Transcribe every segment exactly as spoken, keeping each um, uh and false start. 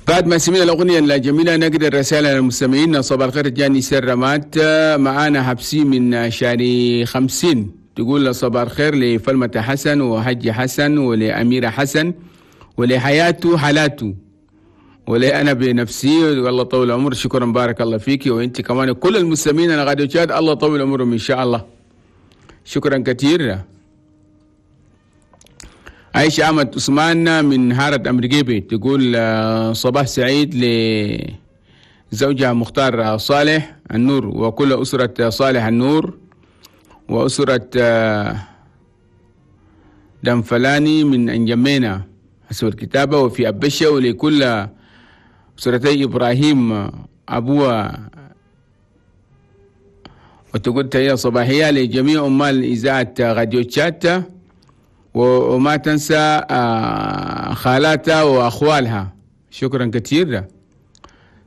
بعد ما سمعنا الأغنية الجميلة نقرأ الرسالة للمستمعين. صباح الخير جاني سرمات، معانا حبسي من شاري خمسين تقول صباح الخير لفلمة حسن وحج حسن ولأميرة حسن ولحياته حالاته ولأنا بنفسي، والله طول عمر. شكرا بارك الله فيك وانت كمان كل المستمعين انا غادي تشاد، الله طول عمرهم ان شاء الله. شكرا كثير. عايشة أحمد عثمان من هارة أمريكيبي تقول صباح سعيد لزوجها مختار صالح النور وكل أسرة صالح النور وأسرة دنفلاني من أنجمينا حسب الكتابة وفي أبشة، ولكل أسرتي إبراهيم أبوه. وتقول تحية صباحية لجميع عمال إذاعة راديو تشات، وما تنسى خالاتها وأخوالها. شكرا كثير.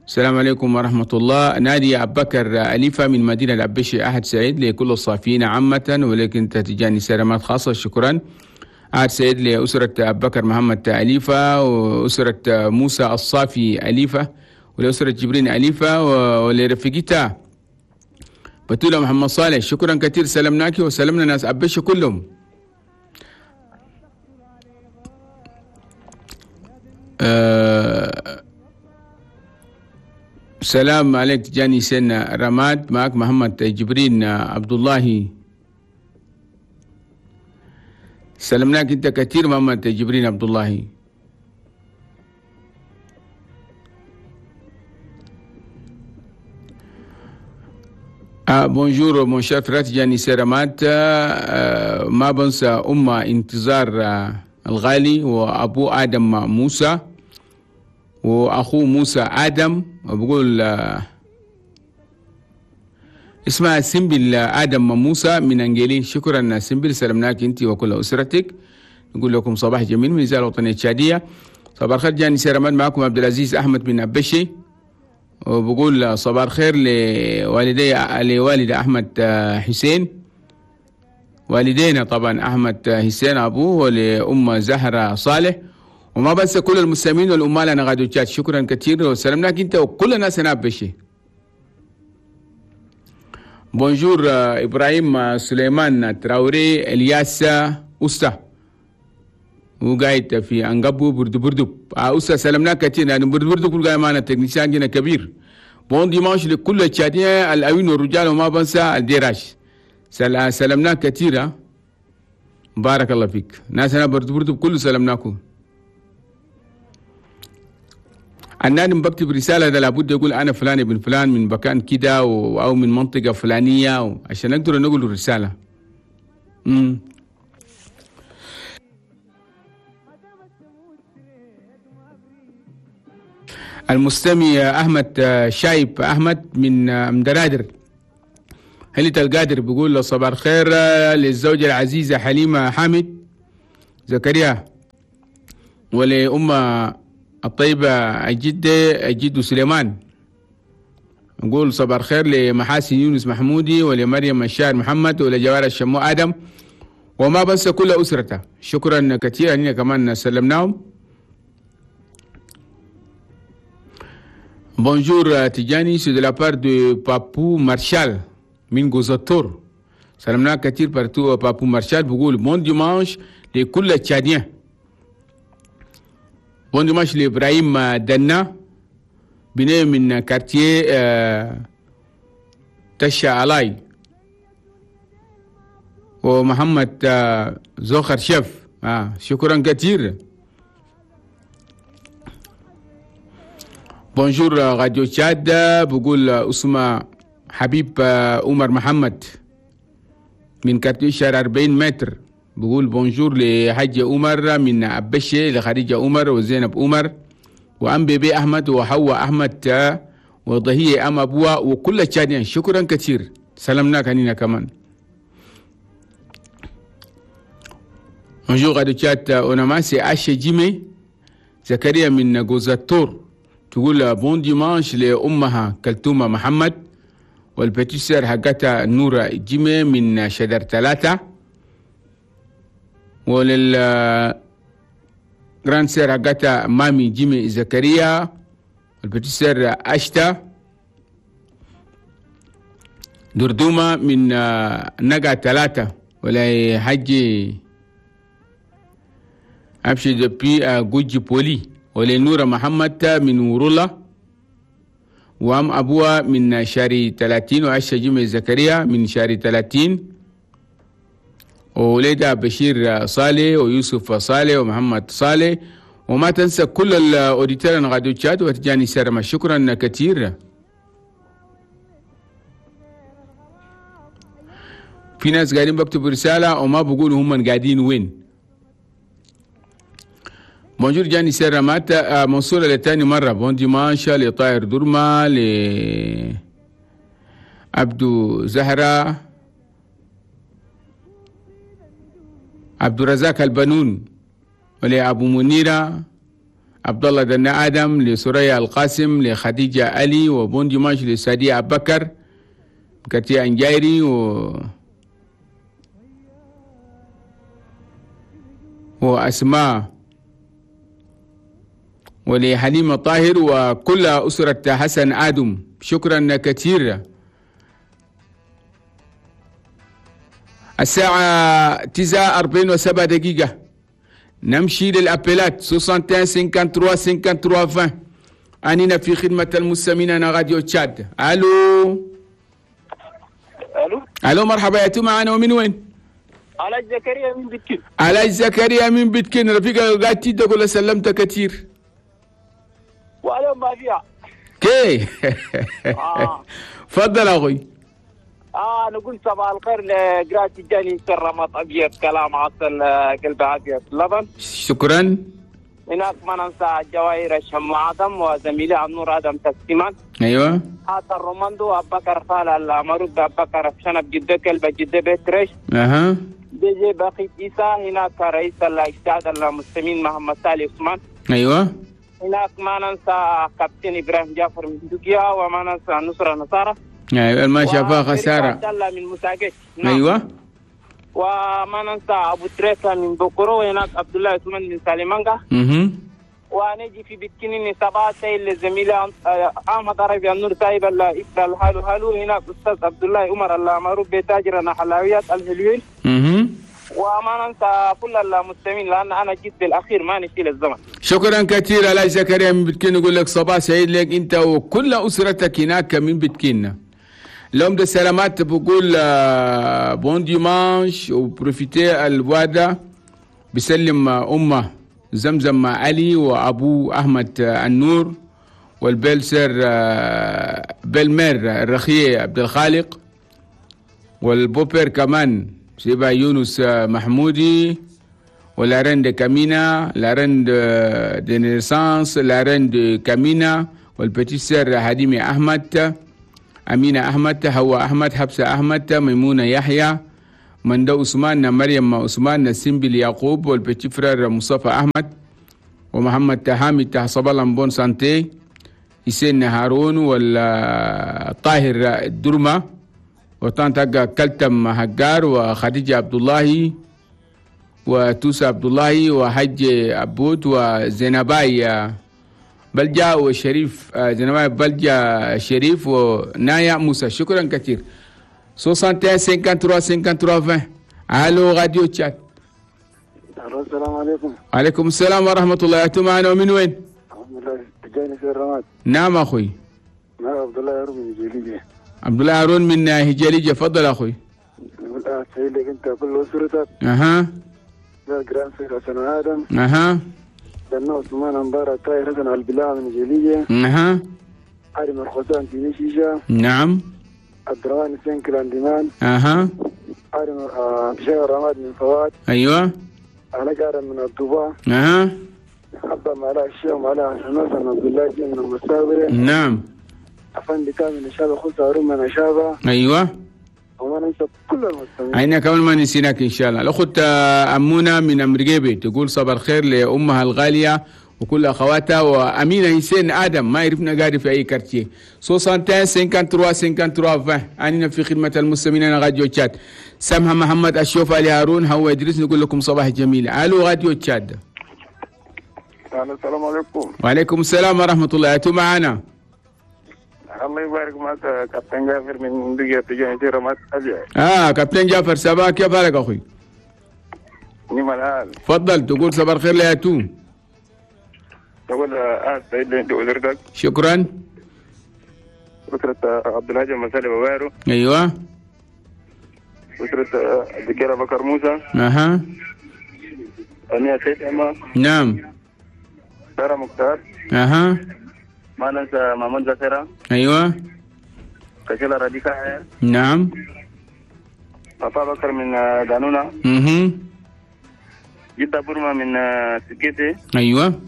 السلام عليكم ورحمة الله. نادية أبو بكر أليفة من مدينة الأبشي، أحد سعيد لكل الصافيين عامة ولكن تتجاني سلامات خاصة. شكرا. أحد سعيد لأسرة أبو بكر محمد أليفة وأسرة موسى الصافي أليفة ولأسرة جبرين أليفة ولرفيقتها بتولة محمد صالح. شكرا كثير، سلمناك وسلمنا ناس أبشي كلهم. أه سلام عليك جاني سن رماد، معك محمد جبرين عبد الله. سلمناك انت كثير محمد جبرين عبد الله. آه bonjour mon cher frère جاني سن رماد، آه ما بنسى أمة انتظار آه الغالي وأبو آدم موسى وأخوه موسى آدم، وبقول اسمها سمبل آدم موسى من أنجيلي. شكرا سمبل، سلمناك أنت وكل أسرتك. نقول لكم صباح جميل من الإذاعة الوطنية التشادية. صباح الخير جاني سيرمان، معكم عبد العزيز أحمد من أبشي، وبقول صباح الخير لوالدي لوالد أحمد حسين، والدينا طبعا أحمد حسين أبوه ولأم زهرة صالح، وما بس كل المستمعين والأمال أنا غادو تشات. شكرا كثير وسلمناك أنت وكل الناس هنا بشي. bonjour إبراهيم سليمان تراوري الياس أستا وقاعد في أنقبو بردو بردو. أستا سلمناك كثير، يعني بردو بردو كل قاعد معنا technicien جينا كبير. bon dimanche لكل التشاديين الأوين والرجال وما بنسى الديراش. سلمناك كثير، بارك الله فيك. ناس أنا بردو بردو كله سلمناكم. النادم بكتب رسالة ده لابد يقول أنا فلان ابن فلان من مكان كده أو من منطقة فلانية عشان نقدر نقول الرسالة. امم المستمع أحمد شايب أحمد من مدرادر هلت القادر بيقول له صباح الخير للزوجة العزيزة حليمة حامد زكريا ولأم الطيبة الجدة الجد سليمان. نقول صباح الخير لمحاسن يونس محمودي ولمريم الشاعر محمد ولجوار الشمو آدم وما بس كل أسرته. شكرا كثيرا أننا كمان سلمناهم. bonjour تيجاني، c'est de la part de بابو مارشال من غوزاتور. سلمنا كثير partout بابو مارشال. بقول bon dimanche لكل التشاديين. bon dimanche لإبراهيم دنا بني من quartier تشا علاي ومحمد زوخر شيف. آه شكرا كثير. bonjour راديو تشاد، بقول اسمه حبيب عمر محمد من quartier شارع أربعين متر. بقول bonjour لحج عمر من أبشي لخديجة عمر وزينب عمر وأم بيبي أحمد وحواء أحمد وضهية أم أبوها وكل التشاديين. شكرا كثير، سلمناك هنينا كمان. bonjour راديو تشاد، أوناماسي أشي جيمي زكريا من غوزاتور تقول bon dimanche لأمها كلتومة محمد وال petite sœur حقتها نورة جيمي من شدر ثلاثة ولل grande sœur حقتها مامي جيمي زكريا وال petite sœur أشتا دردومة من نقا ثلاثة ولا حجي أبشي depuis جوجي بولي ولا نورة محمد من ورولا وأم أبوها من شاري ثلاثين وعشة جمع زكريا من شاري ثلاثين ووليدها بشير صالح ويوسف صالح ومحمد صالح. وما تنسى كل ال auditeurs راديو تشاد وتجاني سرما. شكرا كثير. في ناس قاعدين بكتبوا رسالة وما بقولوا هم قاعدين وين. bonjour جاني سرمات منصورة لتاني مرة. bon dimanche لطاير درما ل عبدو زهرة عبد الرزاق البنون ولأبو منيرة عبد الله دنا آدم لسرية القاسم لخديجة علي و bon dimanche لسادية أبو بكر كتير أنجايري و وأسماء ولحليمة طاهر وكل أسرة حسن آدم. شكرا كثير. الساعة تسعة أربعين وسبع دقيقة. نمشي لل appel ات واحد وستين ثلاثة وستين ثلاثة وستين عشرين. أننا في خدمة المستمعين أنا راديو تشاد. ألو ألو ألو مرحبا يا تو معنا ومن وين؟ علاج زكريا من بيتكين. علاج زكريا من بيتكين. رفيقة قاعد تقول ولا سلمت كثير؟ وعليهم ما فيها. كي آه. تفضل أخوي. اه نقول صباح الخير لقراتي جاني سرمط ابيض كلام عسل قلب ابيض لبن. شكرا. هناك ما ننسى جواهر الشم ادم وزميلي النور ادم تسليمان. ايوه. هذا الروماندو ابو بكر فال المرود ابو بكر شنب جده كلب جده بيترش. اها. دي جي باقي عيسى. هناك رئيس الاجتهاد المسلمين محمد سالي عثمان. ايوه. هناك ما ننسى كابتن ابراهيم جعفر من تركيا وما ننسى نصر نصارى. ايوه ما شافها خسارة. من مساكش. نعم. ايوه. وما ننسى ابو تريكه من بكرو. وهناك عبد الله عثمان من سالمانجا. اها. ونجي في بتكنين سبعة للزميل احمد عربي النور سايب الهالو هالو. هناك استاذ عبد الله عمر المعروف بتاجر حلاويات الحلوين. اها. وما ننسى كل المستمعين لان انا جيت بالاخير ما نشيل الزمن. شكرا كثير علاء زكريا من بتكين. نقول لك صباح سعيد لك انت وكل اسرتك هناك من بتكين. لهم ده سلامات بقول bon dimanche و profitez الوادة. بسلم أمه زمزم علي وأبو أحمد النور وال belle-sœur belle-mère الرخية عبد الخالق وال beau-père كمان سيبا يونس محمودي و la reine de كامينا la reine de naissance la reine de كامينا وال petite sœur هديمي أحمد أمينة أحمد هوا أحمد حبسة أحمد ميمونة يحيى مندو عثمان مريم عثمان سيمبل يعقوب وال petit frère مصطفى أحمد ومحمد تهامي تحصب bonne santé حسين هارون والطاهر الدرمة وطنطا كلتم هجار وخديجة عبد الله وتوسى عبد الله وحج عبود وزينباي بلجا وشريف زينباي بلجا شريف ونايا موسى. شكرا كثير. واحد وستين ثلاثة وستين ثلاثة وستين عشرين. الو راديو تشاد. السلام عليكم. وعليكم السلام ورحمة الله. أنتم معنا ومن وين؟ الحمد لله تجاني في الرماد. نعم أخوي. معك عبد الله هارون من هجاليجة. عبد الله هارون من هجاليجة، تفضل أخوي. نقول أهلا سعيد لك أنت كل أسرتك. أها. لا جران سيد حسن آدم. أها. لأنه عثمان أمبارة طاهر حسن البلاع من هجاليجة. أها. عالم الخزان في مشيشة. نعم. عبد الرحمن سنكل عندمان. أها. عالم بشير الرماد من فواد. أيوه. أنا جارة من الضباع. أها. حبة مع الشيخ ومع حسن عبد الله من المستاورة. نعم. أفندي كامل نشابة خلص هارون من نشابة. أيوه. وما ننسى كل المستمعين. عينا كمان ما نسيناك إن شاء الله. الأخت أمونة من أمريكا تقول صباح الخير لأمها الغالية وكل أخواتها وأمينة حسين آدم ما عرفنا قاعد في أي quartier. واحد وستين ثلاثة وستين ثلاثة وستين عشرين. أننا في خدمة المستمعين راديو تشاد. سامحة محمد أشوف علي هارون هو إدريس نقول لكم صباح جميل. ألو راديو تشاد. السلام عليكم. وعليكم السلام ورحمة الله. أنتم معنا؟ الله يبارك معك كابتن جعفر من دقيقة تجاه رمات أبيض. اه كابتن جعفر صباح، كيف حالك أخوي؟ نعم الحال. تفضل تقول صباح الخير يا توم. تقول آه سعيد انت وزرتك. شكرا. أسرة عبد الهادي مسالي بوارو. ايوه. أسرة الدكتور بكر موسى. اها. أمية سيد أما. نعم. سارة مختار. اها. ما ننسى مامون زكرة. ايوه. كشيلة راديكا. نعم. بابا بكر من دانونا. اها. جدة بورما من سكيتي. ايوه.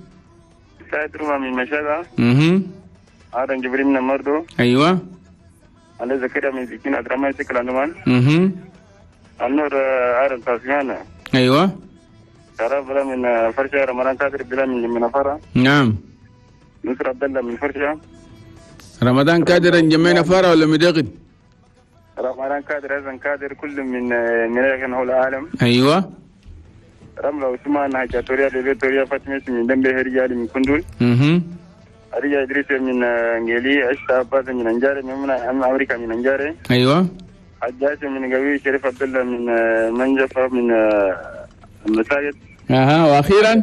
سعيد روما من مشاغة. اها. آدم جبريل من مردو. ايوه. علي زكريا من سكين عبد الرحمن سكل عنوان. اها. النور آدم تاسيانا. ايوه. شرف بلا من فرشة، رمضان كادر بلا من من فرا. نعم. نصر عبد الله من فرشة. رمضان كادر جمعنا فرا ولا مدغد؟ رمضان كادر حسن كادر كل من من حول العالم. ايوه. رملة عثمان حاجة بيبي توريا فاطمة من دمبه رجال من كندول. اها. رجال إدريس من انجلي، عشتا عباس من انجاري، من امريكا من انجاري. ايوه. حجاج من قوي، شريف عبد الله من منجفة من المساجد. اها. واخيرا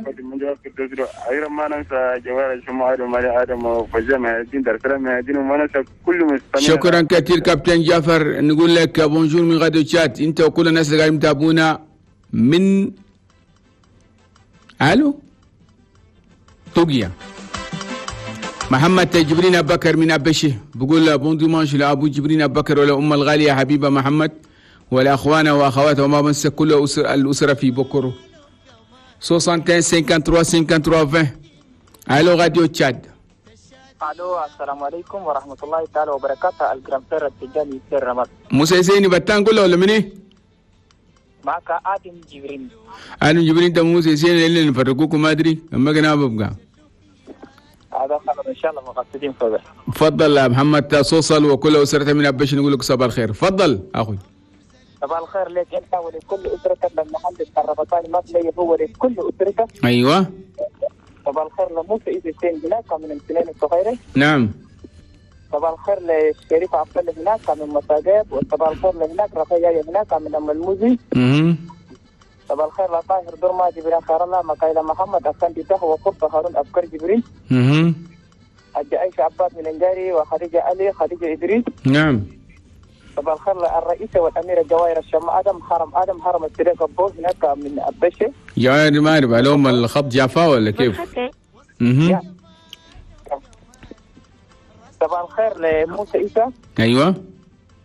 اخيرا ما ننسى جوار الشمال ومالي ادم وفجأة الدين دار السلام الدين وما ننسى كل مستمعين. شكرا كثير كابتن جعفر. نقول لك bonjour من غادو تشات انت وكل الناس اللي قاعدين يتابعونا من الو طوغيا. محمد جبرين أبو بكر من أبشي بقول bon dimanche لأبو جبرين أبو بكر ولا أم الغالية حبيبة محمد ولا أخوانا وأخواته وما بنسى كل أسر الأسرة في بكرو. واحد وستين ثلاثة وخمسين ثلاثة وخمسين عشرين. الو راديو تشاد. الو السلام عليكم ورحمة الله تعالى وبركاته. ال grand frère التجاني سير رمضان. موسى زيني بتان قول ولا مني؟ معك آدم جبرين. آدم جبرين ده موسى زيني اللي نفرقوكم ما أدري أما كنا ببقى. هذا خبر ان شاء الله مقصدين فوق. تفضل يا محمد صوصل وكل اسرته من ابش نقول لك صباح الخير. تفضل اخوي. صباح الخير لك انت ولكل اسرتك للمهندس الربطاني مبلي هو ولكل اسرتك. ايوه. صباح الخير لموسى ايزتين هناك من امتنان الصغيرة. نعم. صباح الخير للشريف عبد الله هناك من مساجد، وصباح الخير لهناك رقيه هناك من ام الموزي. اها. صباح الخير لطاهر درما جبران خير الله مكايلة محمد أفندي تهوى وقرطة هارون أبكر جبريل. اها. حجة عائشة عباس من انجاري وخديجة علي خديجة إدريس. نعم. صباح الخير الرئيسة والأميرة جواهر الشم آدم حرم آدم حرم السريق أبو هناك من أبشة. جواهر ما أعرف علوم الخط جافا ولا كيف؟ اها. صباح الخير لموسى عيسى. أيوه.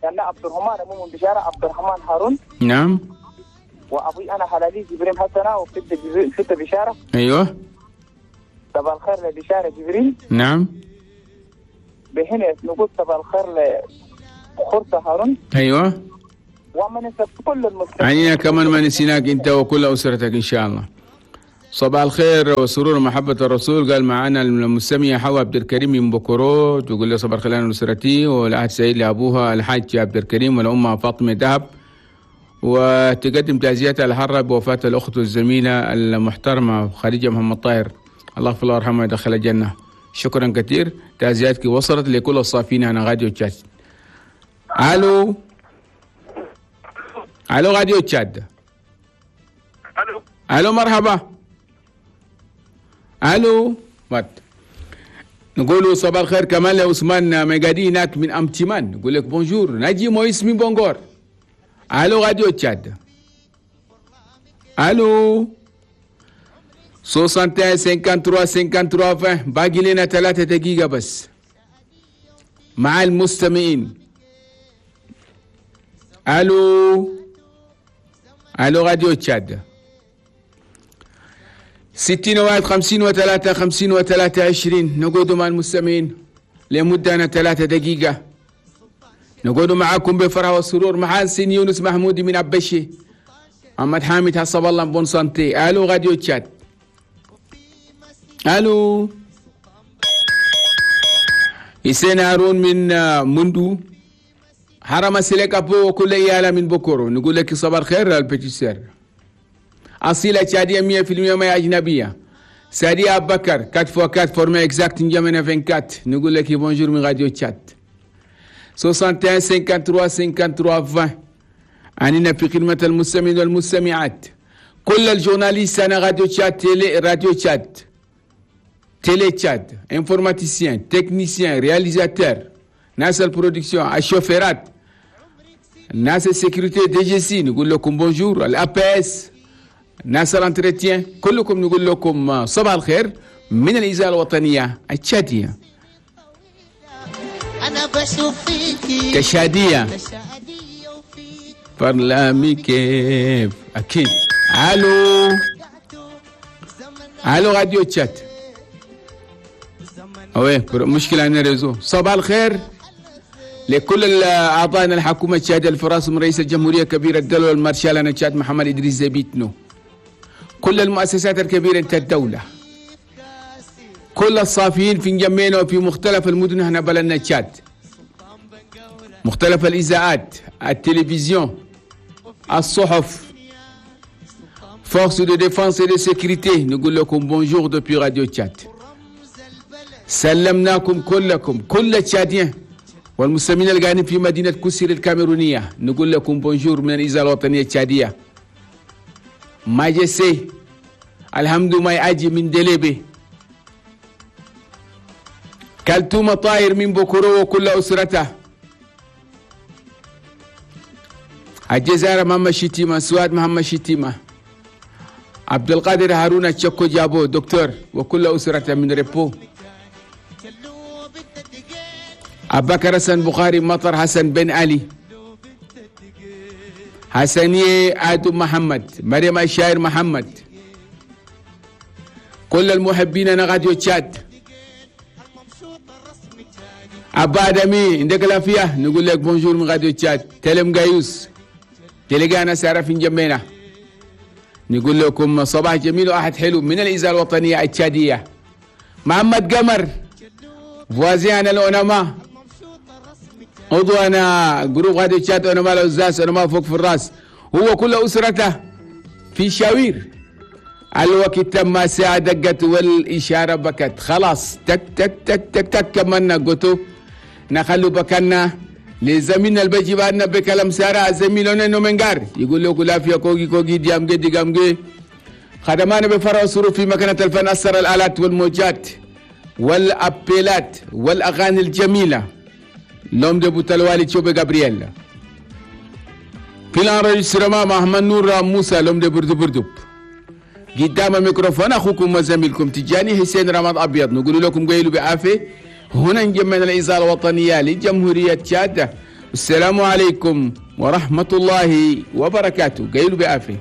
يعني عبد الرحمن أمو من بشارة عبد الرحمن هارون. نعم. وابوي انا حلالي جبريل حسنه وفت فت بشارة. ايوه. صباح الخير لبشاره جبريل. نعم. بهنا نقول صباح الخير لخرطه هارون. ايوه. وما ننسى كل المستمعين. عنينا كمان ما نسيناك انت وكل اسرتك ان شاء الله. صباح الخير وسرور ومحبه الرسول. قال معنا المستمع حوا عبد الكريم من بكرو تقول له صباح الخير انا اسرتي والعهد سعيد لابوها الحاج عبد الكريم ولامها فاطمة ذهب، وتقدم تعزيتها الحارة بوفاة الأخت والزميلة المحترمة خديجة محمد طاهر، الله يغفر لها ويرحمها ويدخلها الجنة. شكرا كثير، تعزياتك وصلت لكل الصافين على راديو تشاد. الو الو راديو تشاد. الو الو مرحبا. الو مات. نقولوا صباح الخير كمان لعثمان ميقادي هناك من امتمان، نقول لك bonjour. ناجي مويس من بونغور. الو راديو تشاد. الو واحد وستين ثلاثة وخمسين ثلاثة وخمسين عشرين. باقي لنا ثلاثة دقيقة بس مع المستمعين. الو الو راديو تشاد. ستين واحد خمسين وثلاثة خمسين وثلاثة عشرين. نقعد مع المستمعين لمدة ثلاثة دقيقة. نقول معكم بفرح والسرور محاسن يونس محمودي من أبشي، محمد حامد حسب الله bonne santé. الو راديو تشاد. الو حسين هارون من مندو حرم سلك أبو وكل إيالة من بكرو. نقول لك صباح الخير ال petite sœur. أصيلة تشادية مية في المية ما أجنبية. سادي أبو بكر quatre fois quatre format exact نجمنا vingt-quatre نقول لك bonjour من راديو تشاد soixante et un cinquante-trois cinquante-trois vingt. أننا في خدمة المستمعين والمستمعات. كل ال journalistes أنا راديو تشاد télé راديو تشاد télé تشاد informaticiens techniciens réalisateurs ناس ال production الشوفيرات ناس ال sécurité DGSI نقول لكم bonjour ال APS ناس ال entretien كلكم نقول لكم صباح الخير من الإذاعة الوطنية التشادية. انا بشوف فيكي تشادية تشادية وفيك فرلامي كيف أكيد. ألو ألو راديو تشاد. oui مشكلة عندنا réseau. صباح الخير لكل أعضائنا الحكومة التشادية الفراس من رئيس الجمهورية كبير الدولة والمارشال أنا تشاد محمد إدريس زبيتنو. كل المؤسسات الكبيرة انت الدولة. كل الصافيين في نجمينا وفي مختلف المدن هنا بلدنا تشاد. مختلف الإذاعات، التلفزيون، الصحف، forces de défense et de sécurité نقول لكم bonjour depuis راديو تشاد. سلمناكم كلكم كل التشاديين والمسلمين اللي قاعدين في مدينة كوسير الكاميرونية نقول لكم bonjour من الإذاعة الوطنية التشادية. ماجسي الحمد ما يأجي من دليبي. كالتومة طاير من بكرو وكل أسرته. الجزائر محمد شتيمة، سواد محمد شتيمة، عبد القادر هارون تشكو جابو دكتور وكل أسرته من ريبو. أبكر حسن بخاري مطر حسن بن علي حسنية آدم محمد مريم الشاعر محمد. كل المحبين أنا راديو تشاد. أبا آدمي عندك العافية نقول لك bonjour من راديو تشاد. تلم قايوس تلقانا سارة في جنبنا. نقول لكم صباح جميل وأحد حلو من الإذاعة الوطنية التشادية. محمد قمر voisin أنا الأونما عضو أنا groupe راديو تشاد أونما الأوزاس أونما فوق في الراس هو كل أسرته في شاوير. الوقت تم ساعة دقت والإشارة بكت خلاص تك تك تك تك تك كملنا قلتو نخلو بكنا لزميلنا البيجي بعدنا بكلام سارة زميلنا نومنغار يقول له كلا فيا كوغي كوغي ديامجي ديامجي. خدمانا بفرع الصروف في مكانة الفن أثر الآلات والموجات والأبيلات والأغاني الجميلة. لوم دي بوتالوالي تشوبي غابرييل. في ال enregistrement محمد نور موسى l'homme de بردو بردو. قدام الميكروفون أخوكم وزميلكم تجاني حسين رمضان أبيض نقول لكم قيلوا بعافية. هنا نجمعنا الإذاعة الوطنية لجمهورية تشاد. السلام عليكم ورحمة الله وبركاته. قيلوا بعافية.